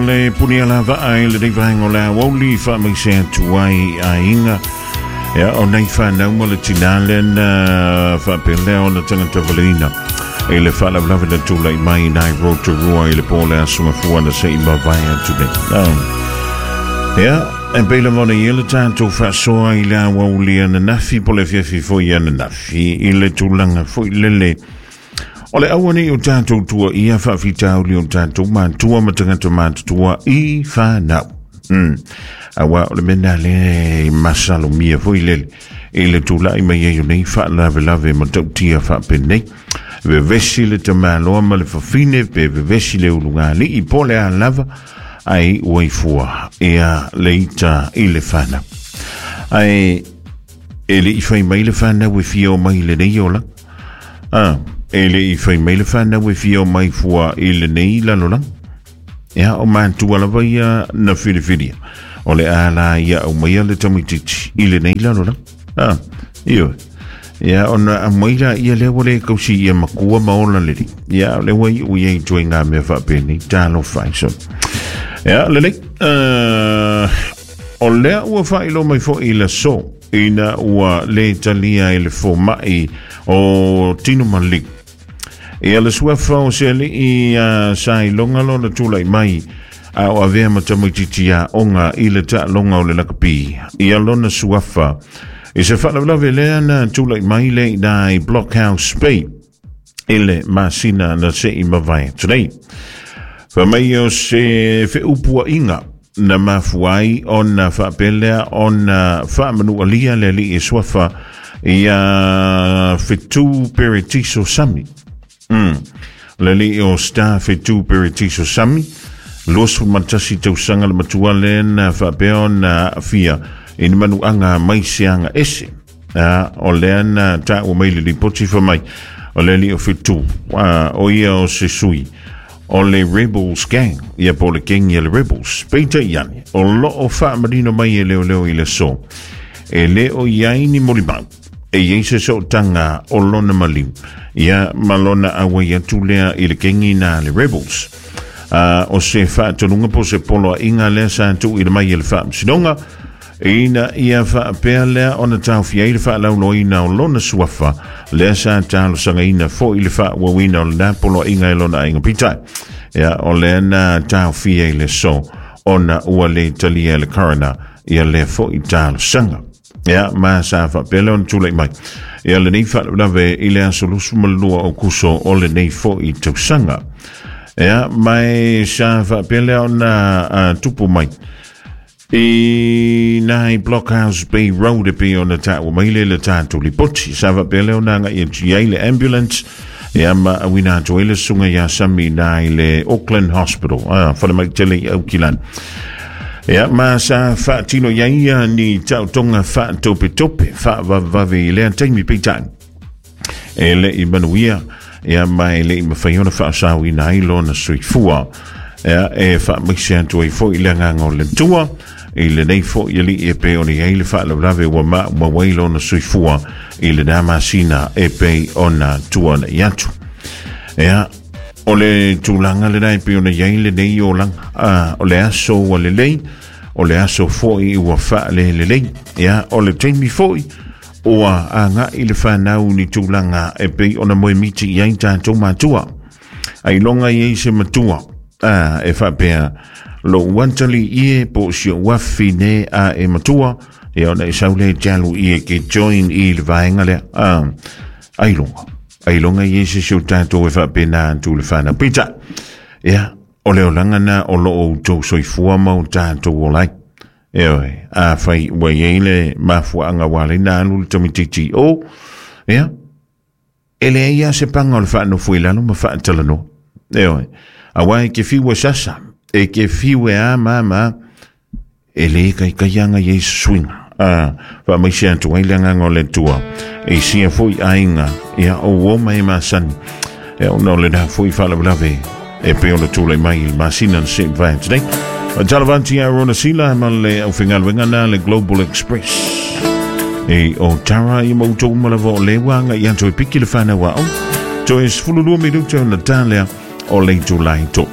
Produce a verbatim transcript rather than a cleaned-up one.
Le puni ala vaa i le vaenga o le aoauli faamaise atu ai aiga. Ia o nei whanau ma le tina na faapelea o na tangata valeina i le faalavelave na tulai mai nai Rotorua i le po le aso mafua na se i mavae atu nei. Ia, e pei lava ona ia le tatou faasoa i le aoauli ananafi po le afiafi foi ananafi i le tulaga foi lele o le aua nei o tatou tua ia faafitauli o tatou matua ma tagata matutua i whanau. Mm. Aua o le mea le masalomia foi lele i le tulai mai ai o nei faalavelave ma tautia faapenei. Vevesi le tamaloa ma le fafine pe vevesi le ulugalii po le a lava ai ua ifua ia le ita i le whanau. Ai e le i whai mai le whanau e fia o mai le nei ola. Ah, e le i whai mai le whanau e fia o mai fua i le nei lalolanga. Ia o mātua lava ia na whiriwhiria. O le ala ia au mai le tamititi i le nei lalolanga. Ah, iyo. Ia ona a mai la ia lea wale kausi ia makua maola leli. Ia le wai ui ei tui ngā mea whaapeni. Talo whai so. Ia lelei. Uh, o lea ua whailo mai fo i le so. Ina ua le talia i le fōma'i o Tino Malik. Ia le suafa o se alii a sa ilonga lo na tulai mai a o avea matamaititi a onga i le taaloga o le lakapi. Ia lona suafa i se faalavelave lea na tulai mai le ina i Blockhouse Bay i le masina na se i mavae atu nei. Faamai o se feupuaiga na mafuai ona faapelea ona faamanualia le alii e suafa ia Fetu Peretiso Sami. Mm. Le alii o Star Fetu Peretiso Sami, luasefulu ma tasi tausaga le matua lea na faapea ona aafia i ni manuaga mai se aga ese. A, o lea na taua mai le lipoti faamai o le alii o Fetu, a, o ia o se sui o le Rebels Gang, ia po le gang ia le Rebels. Peitai ane, o loo faamanino mai e leoleo i le so. E le o iai ni molimau, e iai se sootaga o lona maliu, ia ma lona auai atu lea i le kengi na le Rebels. Uh, o se faatonuga po se poloaiga lea sa tuuina mai e le faamasinoga, ina ia faapea lea ona taofia ai le faalauloaina o lona suafa, lea sa talosagaina foi le faauauina o lena poloaiga e lona aiga peitai. Ia, o lea na taofia i le so, ona ua le talia e le coroner ia lea foi talosaga. Ia, ma sa faapea lea ona tulai mai. Ia lenei faalavelave i le aso lusu ma lua o kuso o lenei foi tausaga. Ia, mai sa faapea lea ona uh, tupu mai i nai Blockhouse Bay Road e pei ona taua mai le le tatou lipoti. Sa faapea lea ona agai atu i ai le ambulance ia ma auina atu ai le susuga iā Sami nai le Auckland Hospital, ah, falemai tele i Aukilani. Ia ma sa faatino iai ia ni taotoga faatopetope faavavevave i lea taimi peitai. E le'i manuia ia ma e le'i mafai ona faasaoina ai lona soifua. Ia e faamaise atu ai foi le agaga o le Atua i lenei foi alii e pei ona i ai le faalavelave ua maumau ai lona soifua i lena masina e pei ona tuana'i atu. Ia, o le tulaga lena e pei ona i ai lenei olaga. Ah, o le aso ua lelei, o le aso foi ua faalelelei. Ia, o le taimi foi ua aga'i le whanau ni tulaga e pei ona moemiti i ai tatou matua. Ailoga i ai se matua ah, e faapea lou atali ie po o si ou afine a e matua ia ona e sau lea e te alu i e ke join i le vaega lea. Ah, ailoga. Ailoga i ai se si o tatou e faapena atu le whanau. Peitai, ia, o le olaga na o loo outou soifua ma o tatou ola ai. Ioe, afai ua i ai le mafuaaga ua ala ai na alu le tamaitiiti o, ia, e leai lava se paga o le faanofo i lalo ma faatalanoa. Ioe, auā e te fiu e sasa, e te fiu e a ma ma, e lē kaikai aga i ai se suiga. A, faamaise atu ai le agaga o le Atua i sia foi aiga, ia o uō ma e masani. Ia ona o lena foi faalavelave e pei ona tulai mai i le masina na se i mavae atu nei. Talavanti a Rona Sila ma le aufaigaluega na le Global Express. E o tara i mautou uma lava o le ua agai atu e piki le whanau a o. Toe sefululua minuta ona ta lea o le itulā e tolu.